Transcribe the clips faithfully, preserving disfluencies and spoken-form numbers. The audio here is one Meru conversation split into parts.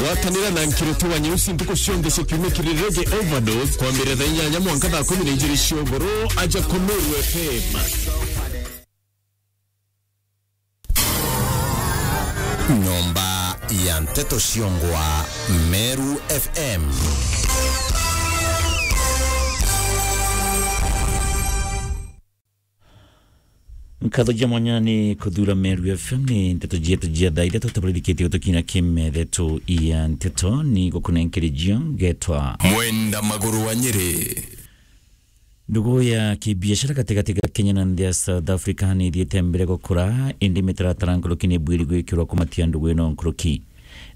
Gwatanira na Nkiriti wa Nyeusi ntuku cionthe cia kiumia kiri Reggae Overdose, kwambiriria thaa inyanya mwanka thaa kumi na ijiri cia ugoro, aja kwa Meru F M. Nyomba ya nteto ciongwa Meru F M. Nkatho ja mwanya ni kuthura Meru F M, ni nteto cietu cia thaa ithatu tubaririkitie gutukina kimethetho ya nteto ni gukunenkererio ngetwa Mwenda Maguru wa Nyeri. Ndugu ya kibiashara gatigati ga Kenya na nthi ya South Africa ni ithiite mbere gukura, indi mitaratara nkuruki ni bwiri gwikirwa kumatia ndugu ino nkuruki.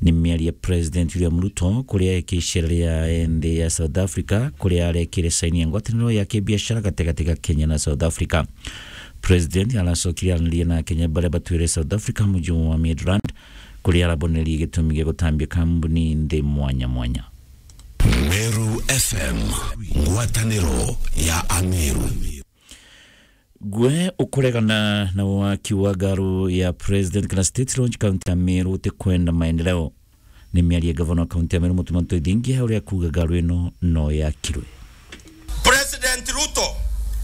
Ni miario ya President William Ruto kuria eki icera ria nthi ya South Africa, kuria arekire saini ya ngwataniro ya kibiashara gatigati ga Kenya na South Africa. President aracokire aranirie na Akenya baria batwire South Africa muji wa Midrand, kuria arabonererie gitumi gia gutambia kambuni nthi mwanya mwanya. Meru F M, ngwataniro ya Ameru. Gwe ukuregana na waki wa garu ya President kana State Lodge kaunti ya Meru utikwenda maendeleo. Ni miario ya gavana wa kaunti ya Meru Mutuma M'Ethingia uria akuuga garu ino no yakirwe. President Ruto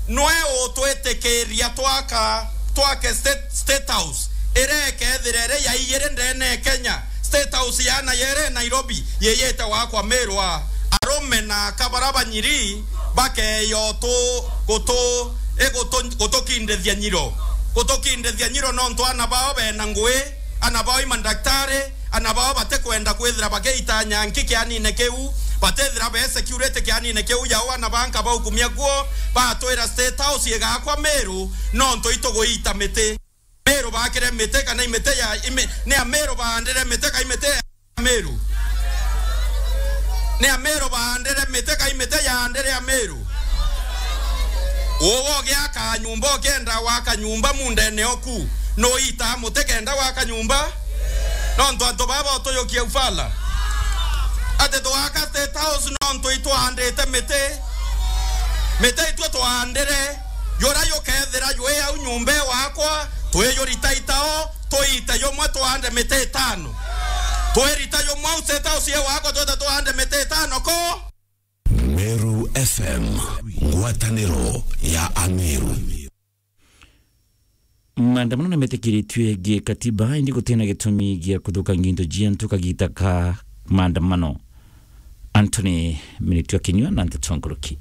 nwe utwitikiria twaka, twake State, State House iria ikethira iri ya ijiri ndene ya Kenya. State House yaana yere Nairobi yiyite wakwa Meru a. Arume na aka bara banyiri bakeya utu, gutu, igutu, gutukindithia nyiro. Gutukindithia nyiro nontu ana bao bena ngui, ana bao i mandaktari, ana bao batikwenda kwithira bagiita nyanki kianine kiu, batithira be security kianine kiu yao ana banka baukumia kuo, batwira State House igakwa Meru nontu ituguita miti. Meru bakire miti kana imiti ya imi-, ni Ameru baandire miti ka imiti ya Ameru? Ni Ameru baandire miti ka imiti yaandire Ameru? Uwe ugiaka nyumba, ukienda waka nyumba mundene oku, nuitaa muti kenda waka nyumba? Nontu antu baba utuyukia ufala. Ati twaka State House nontu itwaandite miti. Miti itwe twaandire, yura yukethira ywi au nyumba wakwa, twiyurita itao, tuite yumwe tuande miti itano. Twirita yumwe au State House ye wakwa, twite tuande miti itano ko. Meru F M, ngwataniro ya Ameru. Maandamano ni metikiritue gi katiba, indi gutina gitumi gia kuthukangia into cia antu kagita ka maandamano. Anthony Miritu akinyua na nteto nkuruki.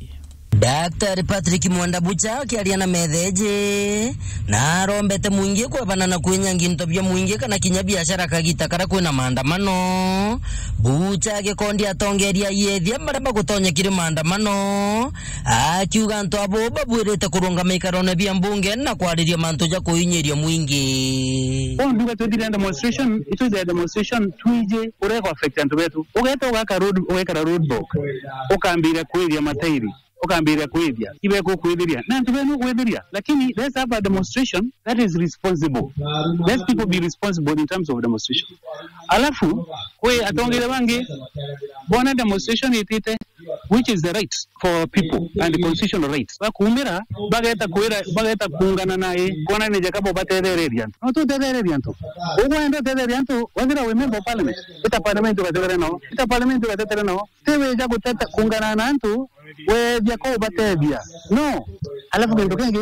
Daktari Patrick Mwenda Bucha akiaria na metheji, na arombete mwingi kwebana na kwinyangia into bia mwingi kana kinya biashara kagita karia kwina maandamano. Bucha agikondi atongeria ayethia baria bagutonya kiri maandamano, akiuga antu abo babwirite kurungama ikarone bia mbunge na kwariria mantu ja kuinyiria mwingi. Bono nduga twithire demonstration, itwithire demonstration twiji uria iko affect antu betu. Ugeta ugaka road, ugekara road block, ukambiria kwithia matairi, ukambiria kwithia, ibe kukwithiria. Na antu benu kwithiria, lakini let's have a demonstration that is responsible. Let people be responsible in terms of demonstration. Alafu, kwi atongeria bangi, bona demonstration itite, which is the right for people and constitutional rights. Bakumira, bageta kwira, bageta kuungana na i, kona ni Jacob batethereria antu. No tutethereria antu. Ugwenda utetheria antu, wethira wi member of parliament. Ita parliament ugatetere nao. Ita parliament ugatetere nao. Ti wija guteta kuungana na antu, wethia ko ubatethia. No. Alafu kintu kingi,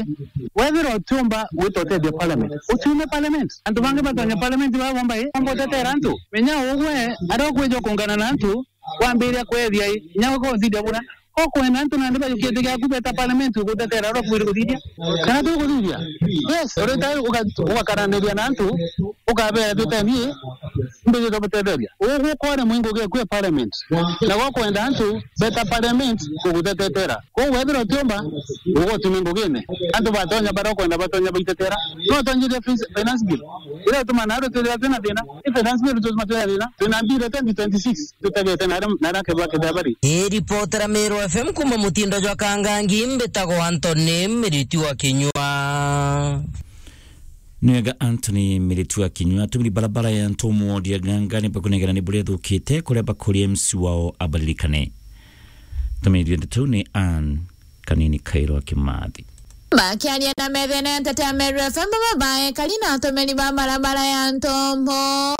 wethira utiumba gwita utethia parliament, utiume parliament. Antu bangi batonya parliament baba bomba i, bomba utetera antu. Menya ugwe, aria ukwija kuungana na antu, wambiria kwethia i, inya uko uthithia bura. Ko kwenda antu nandi bajukie nthi giaku beta parliament ugutetera uria ukwiri kuthithia. Kana tu kuthithia? Yes, urita uga-, ugakaraniria na antu, ukabera tutethie, mbiji tubutetheria. Ugu kwore mwingo ge kwi parliament. Na go kwenda antu beta parliament kugutetetera. Koguo wethira utiumba, ugutume ngugine. Antu batonya baria ukwenda batonya baitetera. No tonyirie fi-, finance bill. Iria ituma nario twithira twina thina. Ni finance bill tutuma twina thina. Twina bill twenty twenty-six. Tutegete naria, naria kethira kethira bari. Iripotera Meru F M kuma mutindo jwa Kangangi, mbitagwa Anthony Miritu wa Kinyua. Ni wega Anthony Miritu wa Kinyua. Atumiri barabara ya Ntomu ward ya Gangani bakunegera ni buria ithukite, kuria bakuria M C wao abariririkane. Tumeithio ndeto ni Ann Kanini Kairo wa Kimathi. Bakiaria na methene ya Nteto ya Meru F M, baba baekari na atumiri ba barabara ya Ntombo,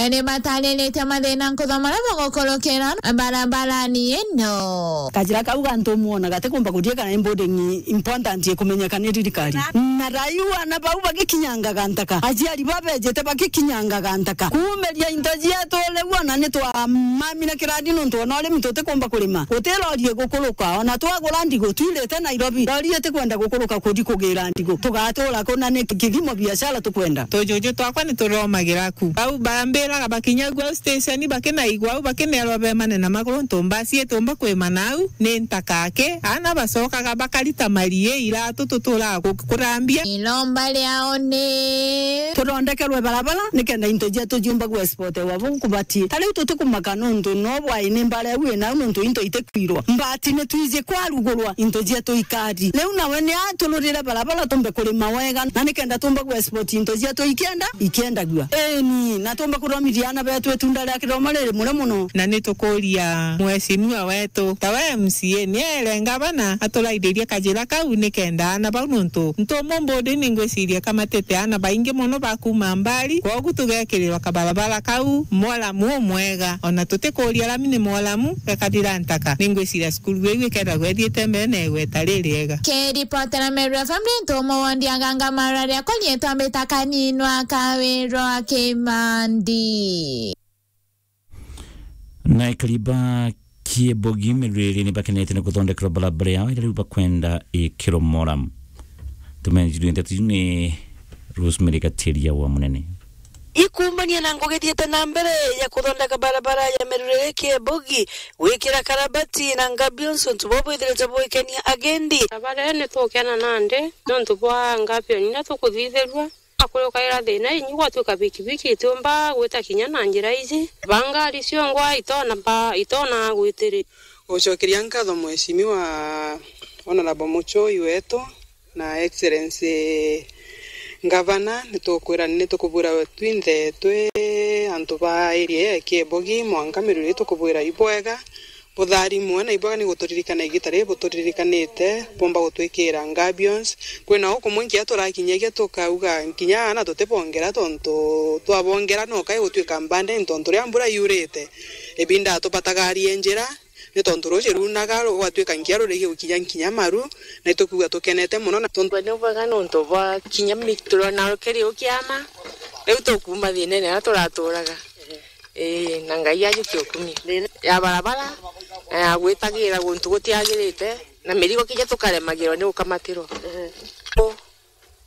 ni batariritie mathina nkuthoma maria bagukurukira barabarani ino. Kajira kau gantu mwona gatikumba kuthie kana ni building important ikumenyeka ni thirikari. Na raiu ana bau bagikinyangaga ntaka, aciari babejete bagikinyangaga ntaka. Kuumiria into cietu riu ona ni twamamire kirandi nontu ona urimi tutikumba kurima. Guti lori igukuruka, ona twagura ndigu twirite Nairobi, lori itikwenda gukuruka kuthi kugira ndigu. Tugatura ku na ni kithimo biashara tukwenda? Tujuju twakwa ni turomagira ku. Bau bambiraga bakinya gwa station bakinaigua au bakinerwa bemane na maguru ntu mbasi itumba kwimana au ni ntaka aki. Ana bacokaga bakarita marie iratu tuturaga ku-, kurambia. Iromba riao ni tuthondekerwe barabara nikenda into cietu ciumba gwa sport wa bu nkubatie. Ta riu tutikumaka nontu no bwai ni mbara iu inau nontu into itikwirwa. Mbati ni twiji kwarugurwa into cietu ikari. Riu nawe ni atururire barabara tumbe kurima wega na nikenda tumbe gwa sport into cietu ikienda ikiendagua. Eni, na tumbe kuthomithia ana betu itunda ria kithomo riri mure muno. Na ni tukuria mheshimiwa wetu, ta we M C A, ni ere ngavana aturaithirie kajira kau nikenda ana bau nontu ntumu mbudi ni ngwiciria kamatite ana baingi muno ba kuuma mbari, kwogu tugekirirwa kabarabara kau mwaramu umwega, ona tutikuria lami ni mwaramu gakathira ntaka. Ni ngwiciria cukuru iu ikethagwa ithiite mbere na igweta ririega. Kiripotera Meru F M ni ntumu wondi aganga mararia kunyitwa mbita kaninwa kawirwa kimandi. Na ikari ba Kiebogi Mirwiri ni bakenete ni kuthondekerwa barabara yao iria riu bakwenda ikiromora. Tumenjirwe ndeto iu ni Rosemary Gatiria wa Munene. Ikumbania na ngugi ithiite na mbere ya kuthondeka barabara ya Mirwiri Kiebogi, gwikira karabati na ngabions untu buu bwithirite bwikenia agendi. Barabara ii ni tukena nandi nontu bwa ngabion iria tukuthithirua. Akurukaira thina inyi gwatuika bikibiki itiumba gwita kinya na njira iji. Ba ngari ciongwa itona ba, itona gwitiri. Gucokeria nkatho Mheshimiwa Honorable Muchoi wetu na Excellency Ngavana, nitukwira ni tukubwira twinthe twi antu ba area ya Kiebogi, mwanka Mirwiri tukubwira ibwega. Butharimwe na ibwega ni guturirikana igita riri buturirikanite, bumba gutwikira ngabions. Kwina ukumwe nkinya turakinyagia tukauga nkinya aana tutibongera, tontu twabongera no kai gutwika mbande, ni tontu riria mbura yurite, ibinda tubataga arie njira, ni tontu ruuji ruunaga, rugatwika nkinya rurigi gukinya nkinya maru, na itukuuga tukenete mono na tontu ni bwega nontu bwa kinya mi-, turona rukiri ukiama, riu tukuuma thiinene aria turaturaga. Ii, na Ngai ajukie ukumia. Ya barabara, na ya gwitagira guntu gutiagirite, na mirigo kinya tukaremagirwa ni gukamatirwa.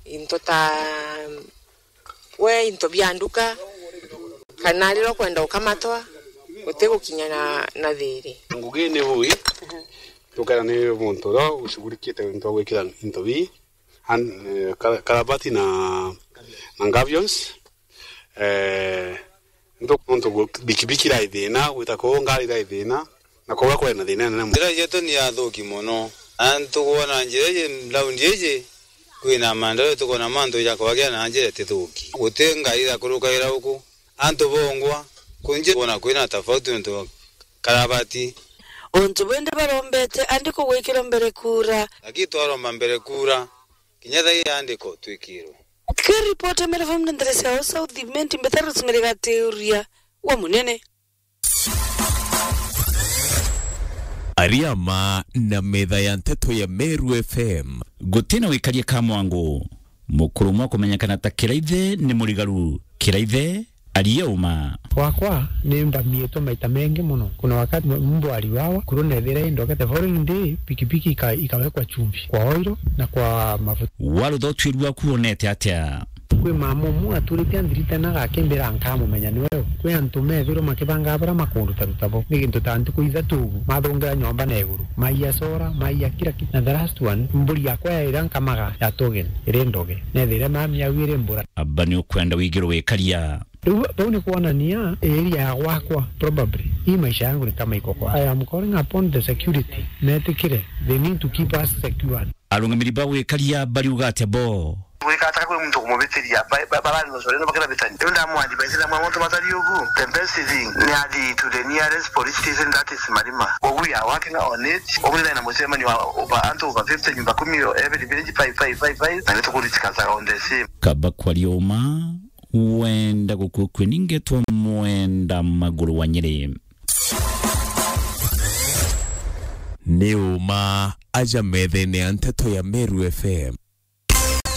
Into ta, we, into bia nduka, kana riria ukwenda gukamatwa, utigukinya na, na thiri. Ngugi ni bui, tukera ni muntu uria ushughulikite into gwikira into bii, an-, eh, kara-, karabati na, na ngabions. Eh, ntu-, nontu gu-, bikibiki irai thina, gwita kuu ngari irai thina, na kuria kwari na thina inene mono. Njira cietu ni athuki mono. Antu kwona njira iji, raundi iji, kwina maendeleo, tukwona mantu ja kwagia na njira itithuki. Guti ngari irakurukagira uku. Antu bongwa, kunji kwona kwina tofauti nontu karabati. Untu bwinthe barombete andiko gwikirwa mbere kura. Lakini twaromba mbere kura, kinya thaa ii andiko twikirwe. Kiripoti ya Meru F M ndeto cia South Imenti, mbeta Rosemary Gatiuria wa Munene. Ariama na metha ya nteto ya Meru F M. Gutina wikaria ka mwangu. Mukuru umwe kumenyekana ta Kiraithe ni murigaru. Kiraithe, aria uma. Gwakwa ni ndamiitwe maita mengi mono. Kuna wakati m-, mbwa aliwawa, kuru nethire indogete. Following day, pikipiki ika-, ikawekwa chumvi kwa oil na kwa mafuta. Warutha utuiri waku wonete atia? Kwi mama umwe aturite anthirite na gakimbira nkamumenya ni we u. Kwi antu methirwe makibangaa baria makunduta ruta bo. Ni gintu ta ntuku ithatu ugu, mathungira nyomba na iguru. Maiya sora, maiya kila kitu. Na the last one, mburi yakwa yaira nkamaga ya togen, iri ndoge. Nethire mami au iri mbura. Aba ni ukwenda wigirwe wikaria. Riu bau ni kwonania area ya gwakwa, probably. Hii maisha yangu ni kama iko kwa. I am calling upon the security. Metikire. They need to keep us secure. Arungamiri ba gwikaria bariuga atia bo? Gwikataka kwi muntu kumubitiria, ba-, ba-, barari no sore no bakira bitani. Riu ndamu advise na mwa muntu batari ugu. The best thing ni athi to the nearest police station, that is Marima. We are working on it. Ubu ni na mucemanio wa over, antu over fifty, nyumba kumi, every village five, five, five, five, na nitukuritikanaga on the same. Kaba kwaria uma, wenda gukukwe ningetwa Mwenda Maguru wa Nyeri. Ni uma aja methene ya nteto ya Meru F M.